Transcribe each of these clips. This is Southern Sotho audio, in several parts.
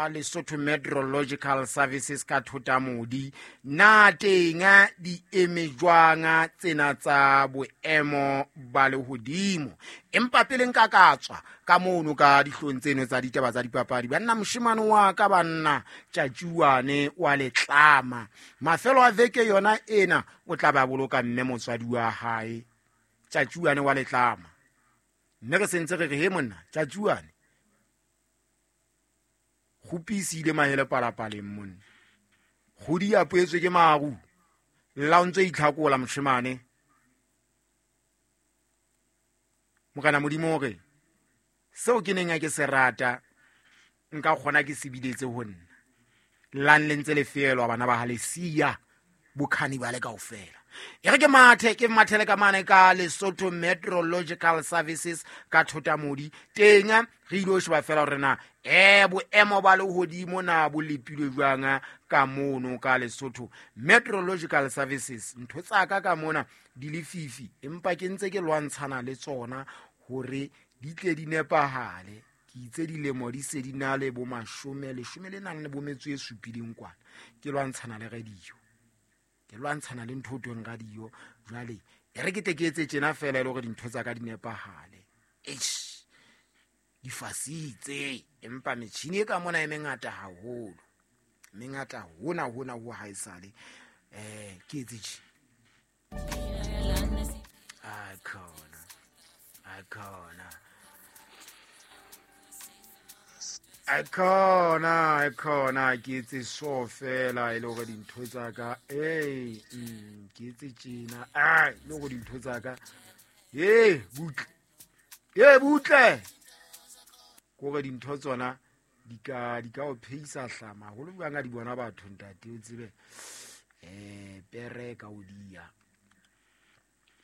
Ka Lesotho Meteorological Services ka Thotamodi, na teng di eme jwang tsena tsa boemo ba lehodimo? Empa pele nka ka tswa ka mono ka dihlong tseno tsa ditaba tsa dipapadi, banna, moshemane wa ka, banna, Tjatjuane wa letlama, mafelo a veke yona ena o tla ba boloka mme motswadi wa hae, Tjatjuane wa letlama. Mme re sentse re re, he monna Tjatjuane, kgopisi ile mahele palapaleng monna, kgodi ya poetswe ke maru, lla o ntse itlhakola moshemane. Morena Modimo o re, seo ke neng ke se rata nka kgona ke se biletse ho nna. Llang le ntse le feelwa bana ba Halesia, bokhanibale kaofela. E re ke mathe, ke mathele ka mane ka Lesotho Meteorological Services ka Thotamodi. Teng re ile ho sheba fela hore na boemo ba lehodimo na bo lepilwe jwang ka mono ka Lesotho Meteorological Services. Ntho tsa ka ka mona di le fifi, empa ke ntse ke lwantshana le tsona hore di tle di nepahale. Ke itse dilemo di se di na le bo mashome, leshome le nang le bo metso e supileng kwana. Ke lwantshana le radio, ke lwantshana le ntho o tweng radio. Jwale e re ke tle ke etse tjena fela e le hore dintho tsa ka di nepahale. Eish, di fasitse, empa metjhini e ka mona e mengata haholo, mengata hona hona ho haesale. Ke etse tje. Akhona, akhona, akhona, akhona, ke etse so fela e le hore dintho tsa ka, ke etse tjena, e le hore dintho tsa ka, butle, butle, ke hore dintho tsona di ka o pheisa hlama haholo jwang a di bona batho ntate, o tsebe, pere ka o dia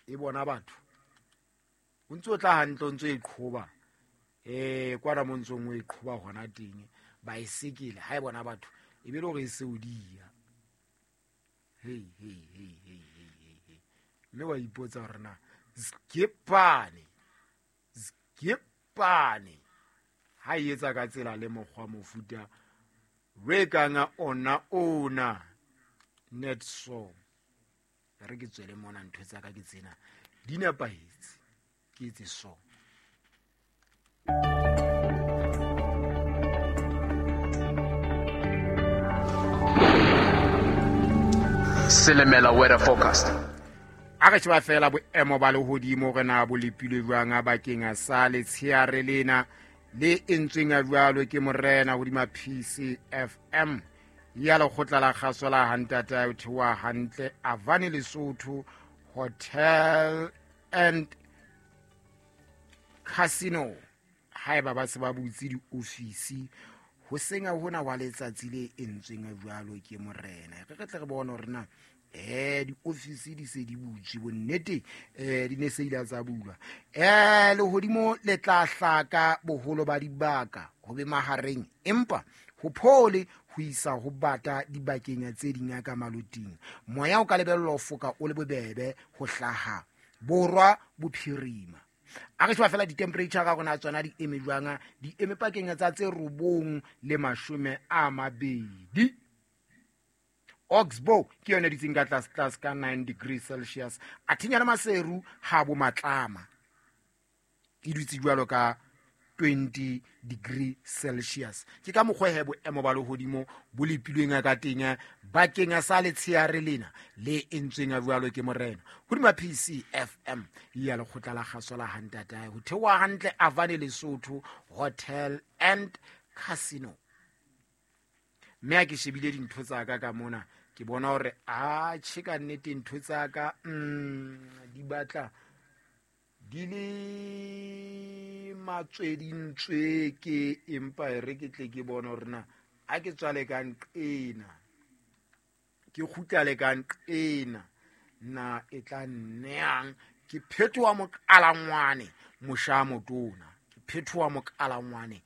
e bona batho, o ntse o tla hantle, o ntse o e qhoba, kwana mo ntsong o e qhoba hona teng, baesekele ha e bona batho e be le hore e se o dia. Hei, hei, hei, hei, hei, hei, hei. Mme wa ipotsa hore na skepane, skepane ha e etsa ka tsela le mokgwa mofuta re kang ona ona net so. Re ke tswele mona ntho tsa ka ke tsena di nepahetse, ke etse so. Selemela weather forecast. A re sheba fela boemo ba lehodimo re na bo lepilwe jwang bakeng sa letsheare lena le entsweng a jwalo ke morena hodima PCFM ya lekgotla la kgaso la hantata o theoha hantle Avani Lesotho Hotel and Casino. Haeba ba se ba butse diofisi ho senya hona wa letsatsi le entsweng a jwalo ke morena, re tle re bone hore na diofisi di se di butswe bonnete, di ne se ile tsa bulwa. Lehodimo le tla hlaka boholo ba dibaka ho be mahareng, empa ho phole ho isa ho bata dibakeng tse ding ka maloting. Moya o ka lebellwa ho foka o le bobebe ho hlaha borwa bophirima. A re sheba fela di-temperature ka rona tsona di eme jwang, di eme pakeng tsa tse 9 le 20. Oxbow ke yone ditseng ka tlase tlase ka 9 degrees Celsius. A thinya le Maseru ha bo matlama e dutse jwalo ka 20 degree Celsius. Ke ka mokgwa he boemo ba lehodimo bo lepilweng ka teng bakeng sa letsheare lena le entsweng a jwalo ke morena hodima PCFM ya lekgotla la kgaso la hantatae ho theoha hantle Avani Lesotho Hotel and Casino. Mme ha ke shebile dintho tsa ka ka mona, ke bona hore a tjhe ka nnete ntho tsa ka, di batla di le matswedintsweke, empa e re ke tle ke bone hore na a ke tswale ka nqena, ke kgutla le ka nqena, na e tla nneyang. Ke phetoha moqalangwane mosha motona, ke phetoha moqalangwane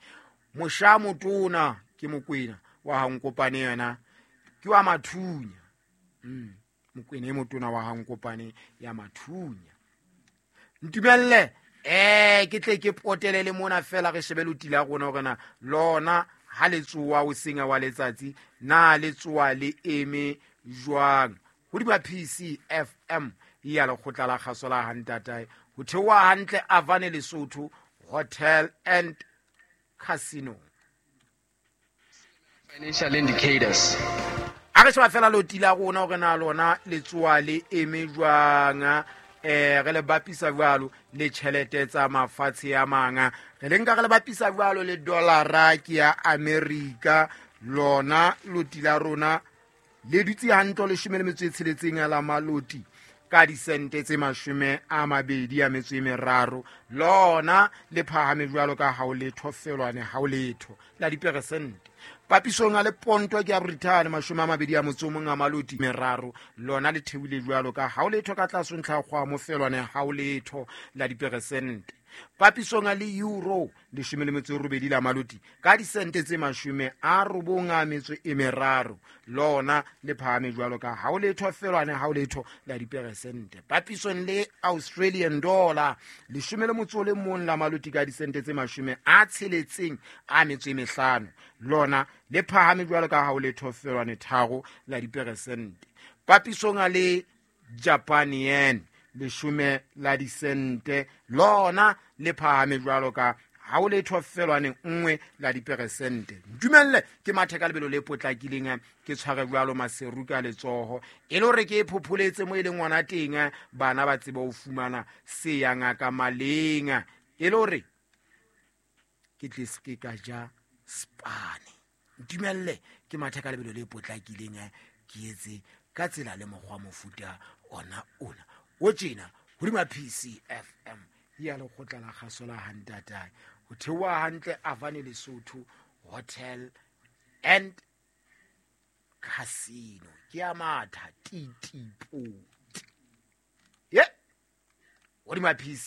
mosha motona, ke Mokwena wa ha Nkopane yena ke wa Mathunya. Mokwena e motona wa ha Nkopane ya Mathunya. Ntumelle ke tle ke potele le mona fela re shebe loti la rona hore na lona Ha le tsoa hoseng wa letsatsi, na le tsoa le eme jwang? Hodima PCFM ya lekgotla la kgaso la hantatae, ho theoha hantle Avane Lesotho Hotel and Casino. Financial indicators. A re sheba fela loti la rona hore na lona le tsoa le eme jwang, re le bapisa jwalo le tjhelete tsa mafatshe a mang, re le nka re le bapisa jwalo le dollara ke ya America. Lona loti la rona le dutse hantle 16 la maloti ka disente tse 23, lona le phahame jwalo ka ha o letho felwane ha o letho la diperesente. Papisong a le ponto ke ya Britain 21 maloti meraro, lona le theohile jwalo ka ha o letho ka tlase ntlha kgwa mofelwane ha o letho la diperesente. Papisong a le euro 18 la maloti ka disente tse 93, lona le phahame jwalo ka ha o letho felwane ha o letho la diperesente. Papisong le Australian dollar 11 la maloti ka disente tse 65, lona le phahame jwalo ka ha o letho felwane 3 la diperesente. Papisong a le Japan yen 10 la disente, lona le phahame jwalo ka ha o letho felwane 1 la diperesente. Ntumelle ke mathe ka lebelo le potlakileng, ke tshware jwalo Maseru ka letsoho e le hore ke phopholetse mo e leng ngwana teng, bana ba tsebe ho fumana se ya ngaka maleng, e le hore ke tle se ke ka ja spane. Ntumelle ke mathe ka lebelo le potlakileng, ke etse ka tsela le mokgwa mofuta ona ona o tjena hodima PCFM ya lekgotla la kgaso la hantatae, ho theoha hantle Avane Lesotho Hotel and Casino. Ke a matha titipoti ye hodima PC.